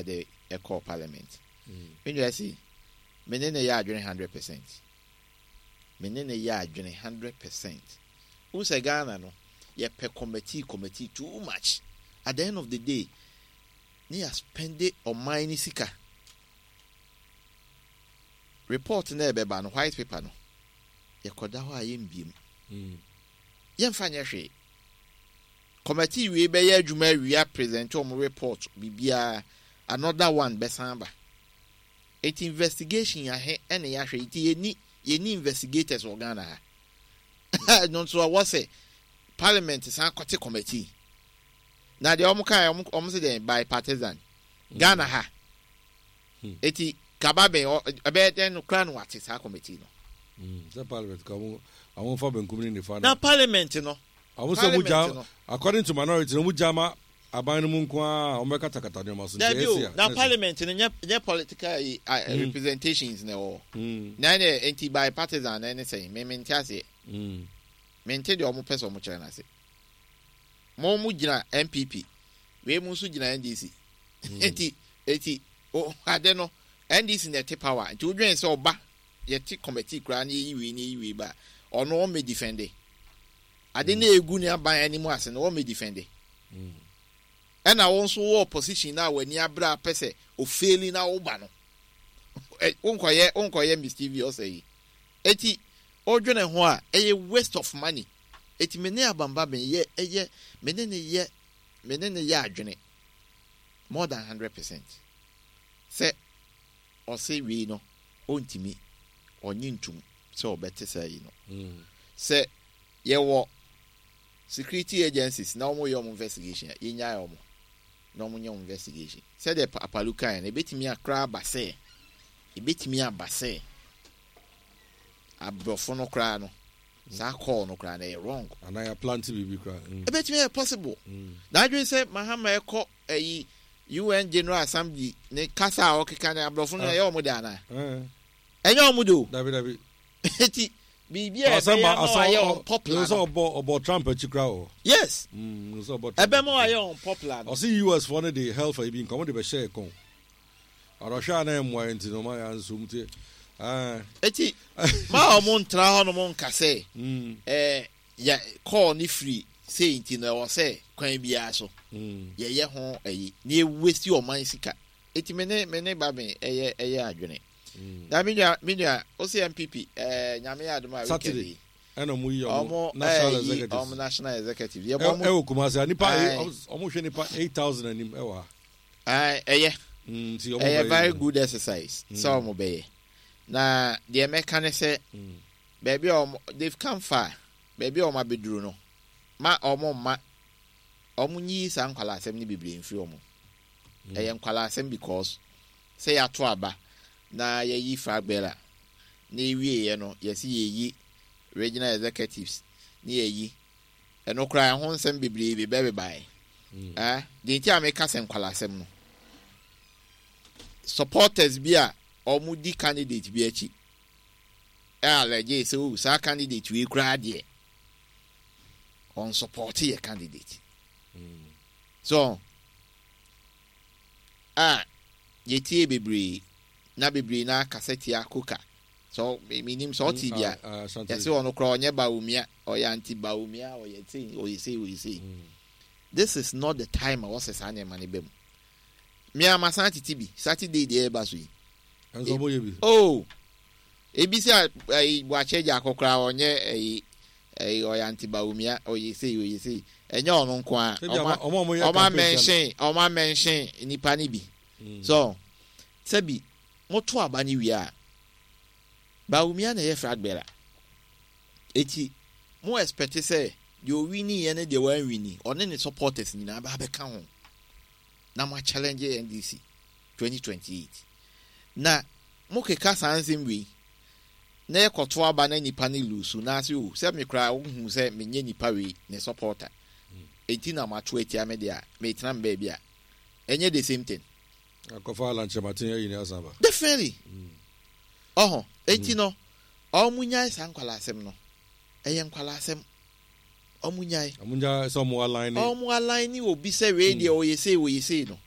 ɛde ɛkɔɔ parliament. Me nua si, me ne no yɛ adwene 100%. Me ne no yɛ adwene 100%. Wohu sɛ Ghana no, yɛpɛ committee committee too much. At the end of the day, ne yɛ spende ɔman ne sika. Report na ɛbɛba no, white paper no, yɛkɔda hɔ a yɛmbiem. Yɛmfa nyɛ hwee. Committee wei bɛyɛ adwuma awia present wɔn report biribiara, another one bɛsan aba. Eti investigation ahe ɛna yɛahwɛ nti yɛni yɛni investigators wɔ Ghana ha. Ɛno nso ɛwɔ sɛ parliament san kɔte committee. Na deɛ wɔn kae wɔn wɔn sɛ deɛ bipartisan Ghana ha. Eti kaba bɛn ɛbɛyɛ dɛn no koraa na wate saa committee no. Sɛ parliament ka wɔn wɔn fa benkum ne nifa na. Na parliament no. Wɔn sɛ wɔn gya according to minority na wɔn gya ma aban no mu nko ara wɔn bɛ katakata nneɛma so. Dabi o, na parliament no nyɛ nyɛ political yi representations na ɛwɔ. Na ɛnɛ nti bipartisan na ɛne sɛn me me nte aseɛ. Me nte deɛ wɔn pɛ sɛ wɔn kyerɛ no ase. Mo mo gyina NPP, wei mo nso gyina NDC. Nti eti o ade no NDC na ɛte power nti wodwen sɛ ɔba yɛte committee koraa na yɛyi wei na yɛyi wei ba ɔno ɔmmɛ defende. Ade na egu ne aban anim ase no ɔmmɛ defende. Ɛna wo nso wɔ opposition na w'ani abere apɛ sɛ ofeeli na woba no. Wonkɔyɛ wonkɔyɛ mischievous yi. Eti wodwene ho a ɛyɛ waste of money. Eti me ne Abamba me yɛ ɛyɛ me ne ne yɛ me ne ne yɛ adwene more than 100% sɛ ɔse wei no ɔntumi ɔnye ntum sɛ ɔbɛte saa yi no. Sɛ yɛwɔ security agencies na wɔn yɛ wɔn investigation a, yɛnyae wɔn na wɔn nyɛ wɔn investigation. Sɛdeɛ Apalu kaeɛ no, ebetumi akora aba sɛ ebetumi aba sɛ aborɔfo no koraa no saa call no koraa no ɛyɛ wrong. Anaa yɛ plant biribi koraa. Ebetumi ayɛ possible. Na adwene sɛ Mahama ɛkɔ ɛyi UN General Assembly ne kasa a ɔkeka ne aborɔfo no ɛyɛ wɔn de anaa? Ɛnyɛ wɔn de o. Dabi dabi. Eti biribi a ɛbɛyɛ ama wayɛ unpopular no. Ɔbɔ ɔbɔ Trump akyi koraa wɔ. Yes. Ɔbɔ Trump. Ɛbɛma wayɛ unpopular no. Ɔsi US foɔ no de health ayi bi nka wɔn de bɛhyɛ ɛkɔn. Ɔrɔhwɛ a na ɛmmoa yɛn nti no ɔma yɛn nso mu ti. Eti ma wɔn ntra hɔ nom nka sɛ ɛɛ yɛ kɔɔ ne firi sei nti no ɛwɔ sɛ kwan biara so yɛyɛ ho ayi na ewesi ɔman sika. Eti me ne me ne Babin ɛyɛ ɛyɛ adwene. Na me nua me nua ose NPP ɛɛ nyame yɛ adom a weekend yi. Ɛna ɔmo yi ɔmo national executive. Ɔmo national executive. Yɛ bɔ ɔmo. Ɛwɔ Kumasi a nipa ɔmo hwɛ nipa 8,000 anim ɛwɔ ha. Ɛɛ ɛyɛ. Nti ɔmo bɛyɛ. Ɛyɛ very good exercise sɛ ɔmo bɛyɛ. Na deɛ mɛka ne sɛ baabi a ɔmo they've come far, baabi a ɔmo abɛduru no ma ɔmo mma ɔmo nyiyi saa nkwadaa asɛm no bebree mfiri ɔmo. Ɛyɛ nkwadaa asɛm because sɛ yɛato aba na yɛayi flag bearer na yɛwieɛ no yɛse yɛyi regional executives ne yɛyi ɛno koraa ɛho nsɛm bebree bɛbebaeɛ. Eh, deɛ nti a meka sɛ nkwadaa asɛm no, supporters bi a wɔn di candidate bi akyi ɛ allege sɛ oh saa candidate wei koraa deɛ wɔn support yɛ candidate. So a yɛtie bebree na bebree na akasa tia Koka. So menim sɛ ɔte bi a yɛsɛ ɔno koraa ɔnyɛ Bawumia, ɔyɛ anti Bawumia, ɔyɛ sei, ɔyɛ sei, ɔyɛ sei. This is not the time a wɔsɛ saa nneɛma no ba mu. Me a masan tete bi Saturday deɛ ɛba so yi. Ɛnso ɔmo yɛ bi. Oh, ebi sɛ ɛyi Boakye agya akɔ koraa ɔnyɛ ɛyi ɛyi ɔyɛ anti Bawumia, ɔyɛ sei, ɔyɛ sei. Ɛnyɛ ɔno nko ara. Ɔmo amɛnhyɛn ɔmo amɛnhyɛn nipa ne bi. So sɛbi moto aba ne wie a, Bawumia na ɛyɛ flag bearer. Eti mo expect sɛ deɛ owini yɛ ne deɛ wanwini ɔne ne supporters nyinaa bɛ abɛka ho na mo challenge NDC 2028. Na mo keka saa nsɛm wei na yɛkɔto aba na nipa ne lose na ase o sɛ me koraa wohu sɛ menyɛ nipa wei ne supporter enti na mato atia me deɛ a metena me baabi a ɛnyɛ the same thing. Akɔfa Alan Kyerematen ayi ne asan ba. Definitely. Ɔho enti no ɔmo nyae saa nkwalaa asɛm no ɛyɛ nkwalaa asɛm ɔmo nyae. Ɔmo nyae sɛ ɔmo align ne. Ɔmo align ne obi sɛ wei deɛ ɔyɛ sei ɔyɛ sei no.